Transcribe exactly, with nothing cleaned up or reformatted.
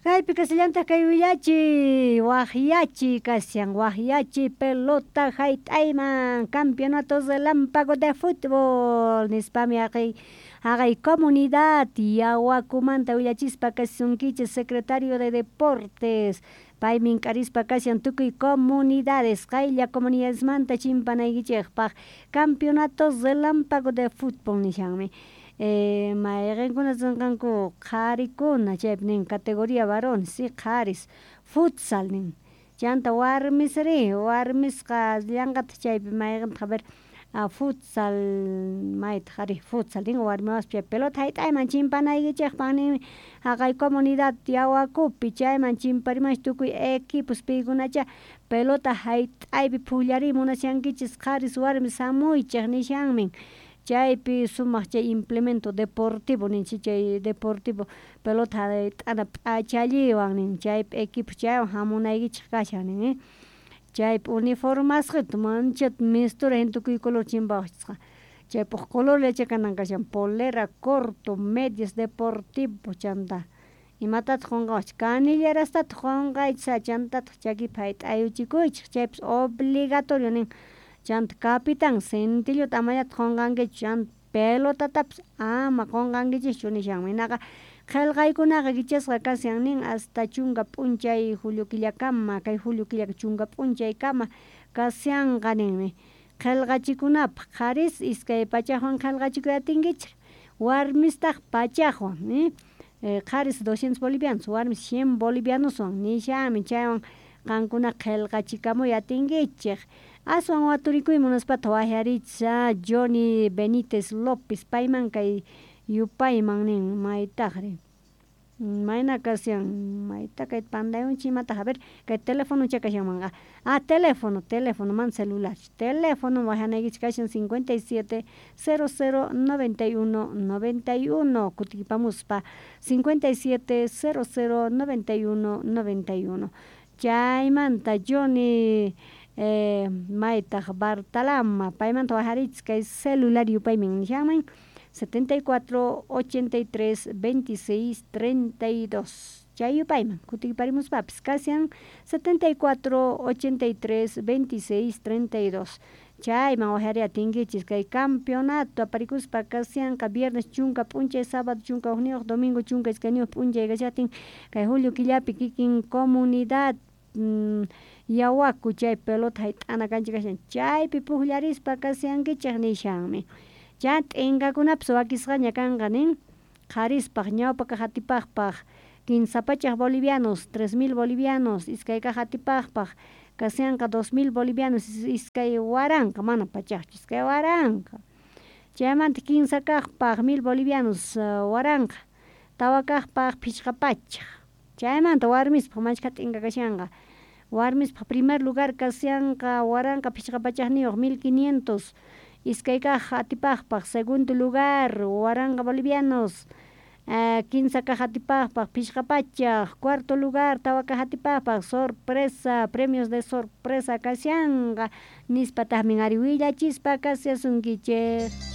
Kaypi kashallantaj kay willachiy waqyachiy kashan waqyachiy pelota hayt'ayman campeonato relámpago de fútbol nispami haqay haqay comunidad Yawakumanta willachispa kashasunkichis secretario de deportes paymi k'arispa kashan tukuy comunidades qaylla comunidadesmanta chimpanaykichikpaq campeonato relámpago de fútbol nishanmi eh, mayqinkuna rinqanku qharikuna chaypi nin categoría varones si qharis futsal nin chanta warmisri warmisqa llanqataq chaypi mayqintaq a ver a futsal maytaq ari futsal nin warmi wawaspa chay pelota hayt'ayman chimpanaykichikpaq ninmi haqay comunidad Yawakupi chayman chimparimanchik tukuy equipos paykunacha pelota hayt'aypi pukllariy munashankichis qharis warmis hamuychik nishanmin chaypi sumaq chay implemento deportivo ninchik chay deportivo pelota hayt'ana p'achalliwan nin chaypi equipo chaywan hamunaykichik kashan nin chaypi uniformasqita manchata mistura hina tukuy color chimpawaqchisqa chaypaq colorlla kanan kashan polera corto medias deportivo chanta imatataq qunqawachik canillerastataq qunqaychis chantataq chakipi hayt'ayuchikuychik chaypis obligatorio nin chanta capitan cintilluta amallataq qunqankichu chanta pelotatapis ama qunqankichischu nishanmi hinaqa qillqaykunaqa kichasqa kashan nin hasta chunka p'unchay julio killakama kay julio killaka chunka p'unchaykama kashanqa ninmi qillqachikunapaq qharis iskay pachakwan qillqachikuy atinkichik warmistaq pachakwan qharis doscientos bolivianos warmis cien bolivianoswan nishanmi chaywan qankuna qillqachikamuy atinkichik aswan waturikuy munaspataq waqyarichis Johnny Benítez López payman kay yupayman nin maytaqri mayna kashan mayta kay pantayunchik imataq a ver kay telefonocha kashanmanqa ah teléfono teléfono mana celular teléfono waqyanaykichik kashan cincuenta y siete cero cero noventa y uno noventa y uno kutipamuspa cincuenta y siete cero cero noventa y uno noventa y uno chaymanta Johnny eh, maytaq Bartalama paymanta waqyarichis kay celular yupaymin nishanman setenta y cuatro ochenta y tres veintiséis treinta y dos chay yupayman kutiparimuspapis kashan setenta y cuatro ochenta y tres veintiséis treinta y dos chayman waqyariy atinkichis kay campeonato aparikuspa kashanqa viernes chunka p'unchay sábado chunka hukniyuq domingo chunka iskayniyuq p'unchay kashaqtin kay julio killapi kikin comunidad mm, Yawaku chay pelota hayt'ana kancha kashan chaypi pukllarispa kashankichik nishanmi chay t'inkakunapis wakisqaña kanqa nin qharispaq ñawpa kaq atipaqpaq kinsa pachak bolivianos tres mil bolivianos iskay kaq atipaqpaq kashanqa dos mil bolivianos iskay waranqa mana pachakchu iskay waranqa chaymanta kinsa kaqpaq mil bolivianos waranqa tawa kaqpaq phishqa pachak chaymanta warmispaq machkha t'inka kashanqa warmispaq primer lugar kashanqa waranqa phishqa pachakniyuq mil quinientos iskay kaq atipaqpaq segundo lugar waranqa bolivianos kinsa kaq atipaqpaq phishqa pachak cuarto lugar tawa kaq atipaqpaq sorpresa premios de sorpresa kashanqa nispataqmi ari willachispa kashasunkichik.